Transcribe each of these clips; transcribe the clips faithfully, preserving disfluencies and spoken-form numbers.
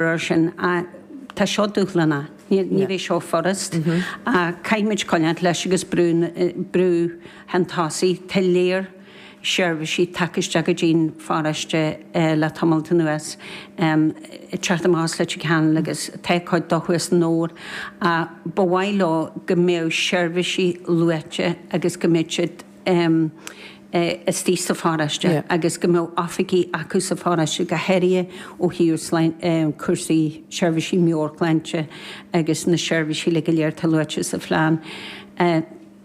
Ar sin tá seo dúshlánach, ní bheidh seo furast. Caithfimid coinneáil leis agus brú brú chun tosaigh. Tá léir seirbhísí tagtha isteach go dtí'n pharóiste le tamalt anuas, ag teacht amach as Leitir Ceanainn agus tá cuid dó thuas san Fhómhar. Ba mhaith leo go mbeadh seirbhísí luaite agus go mbeadh siad istigh sa pharóiste agus go mbeadh oifigí acu sa pharóiste, go háirithe ó thaobh cúrsaí seirbhísí meabhairshláinte agus na seirbhísí uilig go léir atá luaite sa phlean.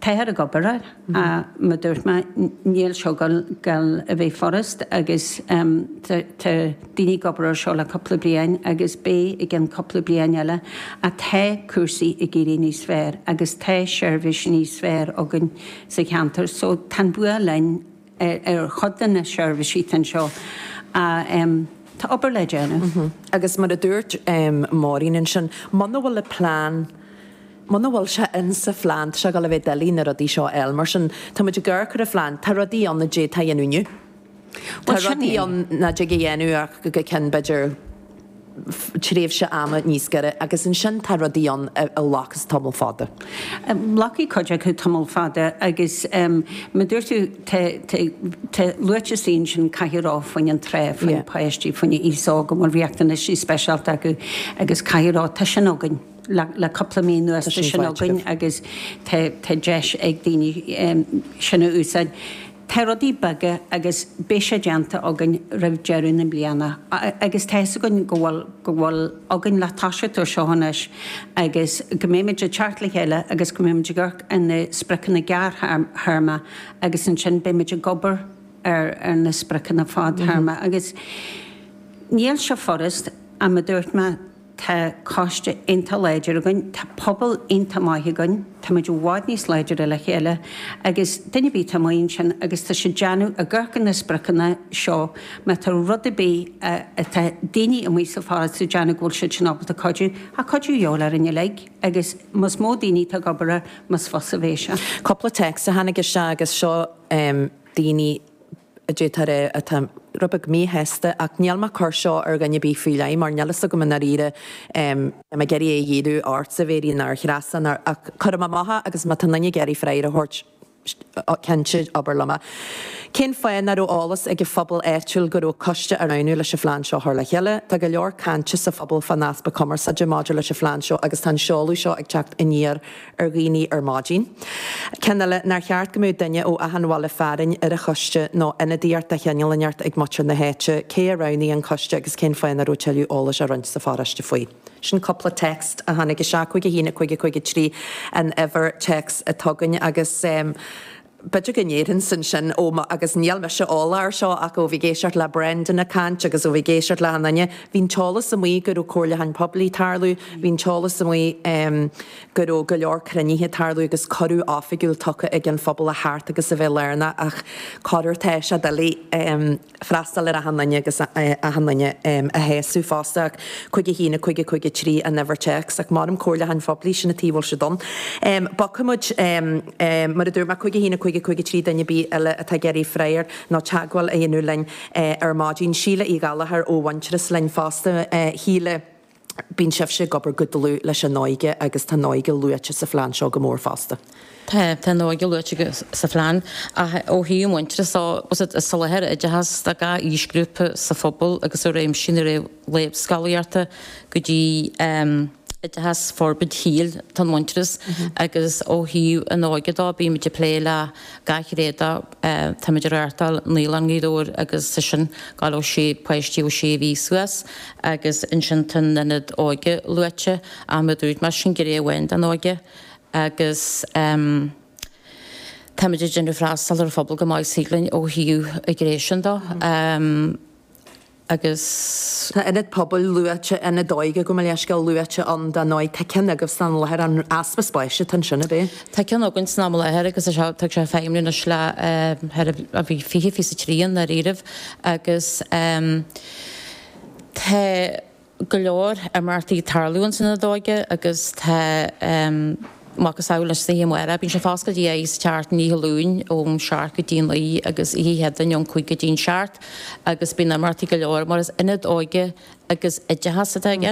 Táthar ag obair air, mar dúirt mé, níl seo ag gabháil a bheith furast agus tá daoine ag obair air seo le cúpla bliain agus beidh i gceann cúpla bliain eile ach tá cúrsaí ag éirí níos fearr agus tá seirbhís níos fearr againn sa cheantar so tá an bua linn ar chuid de na seirbhísí atá anseo ach tá obair le déanamh. Agus mar a dúirt Máirín ansin, muna bhfuil an plean, muna bhfuil sé in sa phlean, tá sé ag dul a bheith doiligh na rudaí seo a fháil. Mar sin, tá muid ag amharc ar an phlean, tá rudaí ann a d'fhéadfá a dhéanamh inniu. Tá rudaí ann nach dtig a dhéanamh ach go ceann b'fhéidir tréimhse ama níos giorra agus ansin tá rudaí ann a ghlacas tamall fada. Glacfaidh cuid acu tamall fada agus mar dúirt tú tá luaite istigh ansin caithfidh a rá faoin an trá, faoi na páistí, faoin aos óg a bhfuil riachtanaisí speisialta acu agus caithfidh a rá tá sin againn le cúpla mí anuas, tá sin againn agus tá deis ag daoine sin a úsáid. Tá rudaí beaga agus beidh sé déanta againn roimh deireadh na bliana agus tá fhios againn go bhfuil, go bhfuil againn le toiseacht ar seo anois agus go mbeimid ag teacht le chéile agus go mbeimid ag amharc ar na spriocanna gearrthéarma agus ansin beimid ag obair ar ar na spriocanna fadtéarma agus níl sé furast ach mar dúirt mé, Tá coiste iontach láidir againn, tá pobal iontach maith againn, táimid i bhfad níos láidre le chéile agus duine ar bith atá amuigh ansin agus tá siad ag déanamh, ag amharc ar na spriocanna seo, má tá rud ar bith atá daoine amuigh sa pharóiste ag déanamh go bhfuil siad sin ábalta cuidiú, tá cuidiú de dhíobháil orainn uilig agus más mó daoine atá ag obair air, más fusa a bheidh sé. Cúpla téacs a tháinig isteach agus seo daoine a d'fhéadfá a rá atá rud beag míshásta ach níl mé ag cur seo ar dhuine ar bith faoi leith mar níl fhios agam i ndáiríre níl mé ag iarraidh é a dhíriú ortsa a Mhéirín ná ar Threasa ná ach cuirfidh mé amach é agus má tá duine ag iarraidh freagra a thabhairt cinnte abair liom é. Cén fáth nach raibh eolas ag an phobal áitiúil go raibh coiste á roghnú leis an phlean seo a chur le chéile? Tá go leor cainte sa phobal fán easpa cumarsáide maidir leis an phlean seo agus tá an seoladh seo ag teacht aniar ar dhaoine ar maidin. Ceann eile, nár cheart go mbeadh duine ó achan bhaile fearainn ar an choiste nó ionadaíocht de chineál inteacht ag muintir na háite? Cé a roghnaigh an coiste agus cén fáth nach raibh tuilleadh eolais á roinnt sa pharóiste faoi? Sin cúpla text a tháinig isteach, cúig a haon, a cúig, a cúig a trí an uimhir téacs atá againn agus b'fhéidir go ndéarfainnse ansin, ó mo, agus níl mise eolach air seo ach ó bhí ag éisteacht le Brendan ag caint agus ó bhí ag éisteacht le achan duine, bhí an t-eolas amuigh go raibh comhairliúchán poiblí ag tarlú, bhí an t-eolas amuigh go raibh go leor cruinnithe ag tarlú agus cuireadh oifigiúil tugtha ag an phobal a theacht agus a bheith lárnach ach corruair tá sé doiligh freastal ar achan duine agus achan duine a shásamh fosta ach cúig a haon, a cúig, a cúig a trí an uimhir téacs ach maram comhairliúcháin phoiblí sin an taobh a bhfuil siad ann. Bogfaidh muid mar a dúirt mé cúig a haon, a cúig, a cúig a trí duine ar bith eile atá ag iarraidh freagra nó teagmháil a dhéanamh linn ar maidin. Síle Uí Ghallchóir ó Mhuintearas linn fosta. Shíle. Bíonn sibhse ag obair go dlúth leis an óige agus tá an óige luaite sa phlean seo go mór fosta. Tá, tá an óige luaite sa phlean ach ó thaobh Muintearas de, is soláthar oideachas do gach aoisghrúpa sa phobal agus i réimsí na réamhscolaíochta go dtí oideachas forbairt shaoil atá in Muintearas agus ó thaobh an óige dó bímid ag plé le gach gné de. Táimid ag reáchtáil Naíolann Ghaoth Dobhair agus tá sin ag gabháil ó sé páistí ó sé mhí suas agus ansin tá an ionad óige luaite ach mar a dúirt mé sin gné amháin den óige agus táimid ag déanamh freastal ar an phobal go maith is thig linn ó thaobh an ghné sin de. Agus. Tá ionad pobail luaite, ionad óige gabh mo leithscéal luaite ann don óige. Tá ceann agaibh san am i láthair, an easpa spáis atá ansin, ab é? Tá ceann againn san am i láthair agus tá sé ag feidhmiú anois le thar a bhí fiche, fiche a trí i ndáiríribh agus tá go leor imeachtaí ag tarlú ins an ionad óige agus tá Macasamhail leis san oíche amárach. Bíonn sé foscailte oíche sa tseachtain, oíche Luain ón seacht go dtí a naoi agus oíche Chéadaoin ón cúig go dtí an seacht agus bíonn imeachtaí go leor mar is ionad óige agus oideachas atá i gceist.